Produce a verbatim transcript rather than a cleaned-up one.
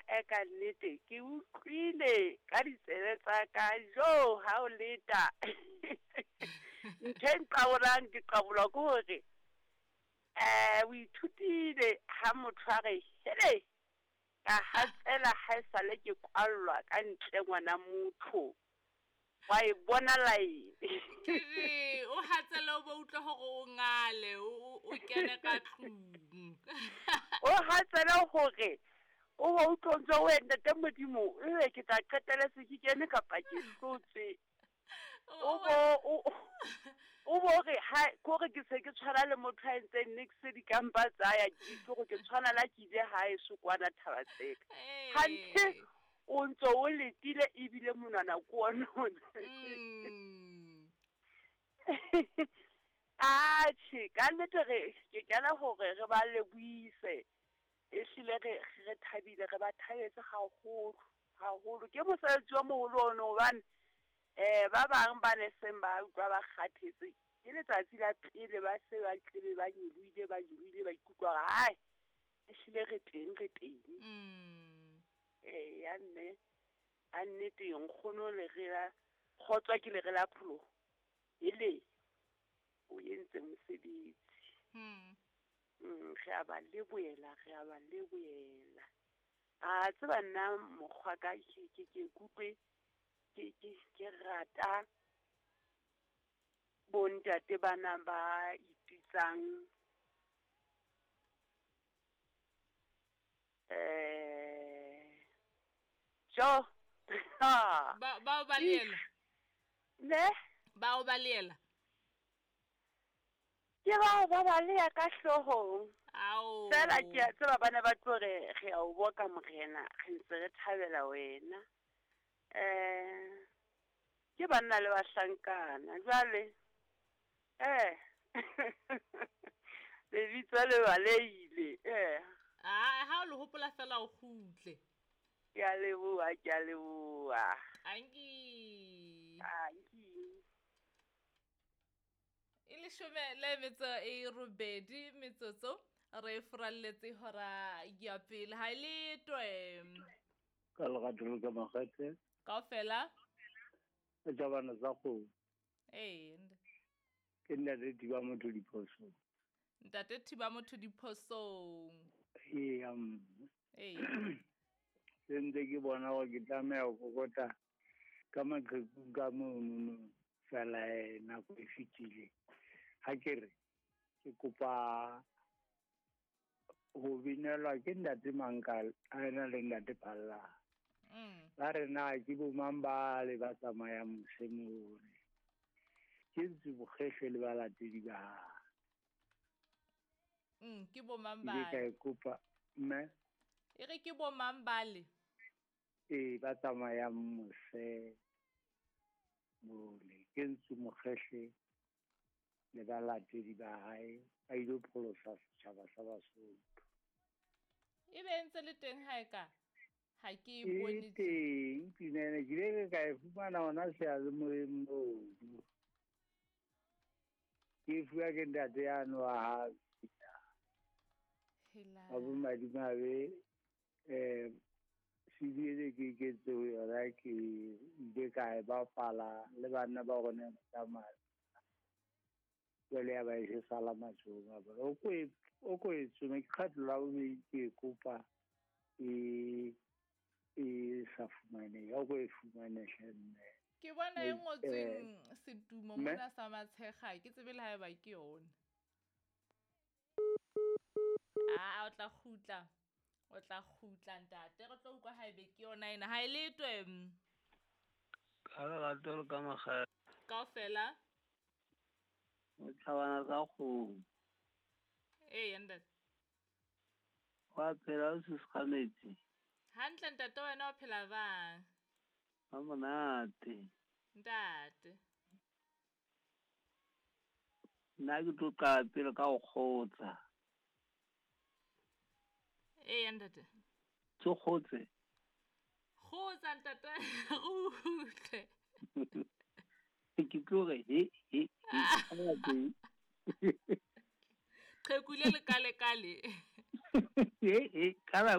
A e ka nnete ke utlwile ka ditsebe tsa ka jo ha o leta. Ntho e nqabolang ke qabolwa ke hore eh o ithutile ha motho a re hele ka hatsela ha esale ke kwallwa ka ntle ngwana motho. Wa e bona line. Ke re o hatsela o bo utlwe hore o ngale o o kene ka tlung. O hatsela hore o bo utlwe ntse o ntate Modimo ebe ke tla qetela se ke kene kapa ke hlotswe. O bo o o bo re ha kore ke se ke tshwana le motho a entseng nix dikampa tsa ya ke gore ke tshwana la ke ile hae sokwana thaba tseka. Hanthe o ntso o letile ebile monwana ko ona. Mm. Atjhe, ka nnete re ke kena hore re ba lebohise. Ehlile re re thabile re ba thabetse haholo haholo. Ke mosebetsi o moholo ono hobane eh ba bang ba ne seng ba utlwa ba kgathetse. Ke letsatsi la pele ba se ba tlebe ba nyolohile ba nyolohile ba ikutlwa hore hai ehlile re teng re teng. Mm. Eh ya mme a nnete nkgono le re la kgotswa ke le re la pholoho ele o entse mosebetsi. Mm. Mm, re a ba lebohela re a ba lebohela. A tseba nna mokgwa ka ke ke ke kutlwe ke ke ke rata bontate bana ba ipitsang eh jo Ba ba ba leela. Ne? Ba o ba leela. Ke ba ba ba lea ka hloohong. Ao. Fela ke a tseba bana ba tlo re re a o boka morena, re ntse re thabela wena. Eh ke banna le bahlankana jwale eh lebitso le balehile eh. Ah, ha o le hopola fela o kgutle. Ke a leboha, ke a leboha. Anki. Anki. E leshome le metso e robedi metsotso re furalletse hora ya pele ha le twe. Ka lerato le ka makgethe. Kaofela. E tsa bana tsa kgomo. Eh. Ke ntate Thiba motho diphosong. Ntate Thiba motho diphosong. Ee, um. Ee. Se ntse ke bona hore ke tlameha ho kokota ka maqheku ka monono fela nako e fetile. Ha ke re ke kopa ho binelwa ke ntate Mankala a ena le ntate Phalla. Mm. Ba re na ke bo mang ba le ba tsamayang mosemone. Ke ntse bokgehle le balatedi ba hae. Mm, ke bo mang Ke ba ka e kopa mme. E re ke bo mang ba le? Ee, ba tsamayang mose mole. Ke ntse mokgehle le balatedi ba hae ba ile pholosa setjhaba sa Basotho. E be ntse le teng ha e ka? Ha ke e bone E teng pina ena, ke ile ka e fumana hona seyalemoyeng moo. Ke e fuwa ke ntate yane wa hae. Hela. Wa bo madimabe, eh C D ene ke iketse ho yona, ke ile ka e bapala le banna ba rona ba tsamaya. Jwale ya ba e se sala matsohong a bona. O ko e, o ko e tsome, ke kgetlo la bobedi ke e kopa e, e sa fumanehe. O ko e fumane hle mme. Ke bona e Eh, ngotsweng setumo mme? mona sa Matshekga, ke tsebe le haeba ke yona. Ah, o tla kgutla. O tla kgutla ntate, re tlo utlwa haebe ke yona ena. Ha e letwe. Ka lerato le ka makgethe. Kaofela. O tlhabana tsa kgomo. Ee, ntate. Wa phela o se sekgametsi. Hantle ntate, wena o phela bang? Ha monate. Ntate. Nna ke tlo qala pele ka ho kgotsa. Ee, ntate. Tso kgotse. Kgotsa ntate, re utlwe. Ke tlo re he he he. Qheku le lekalekale. He he, ka la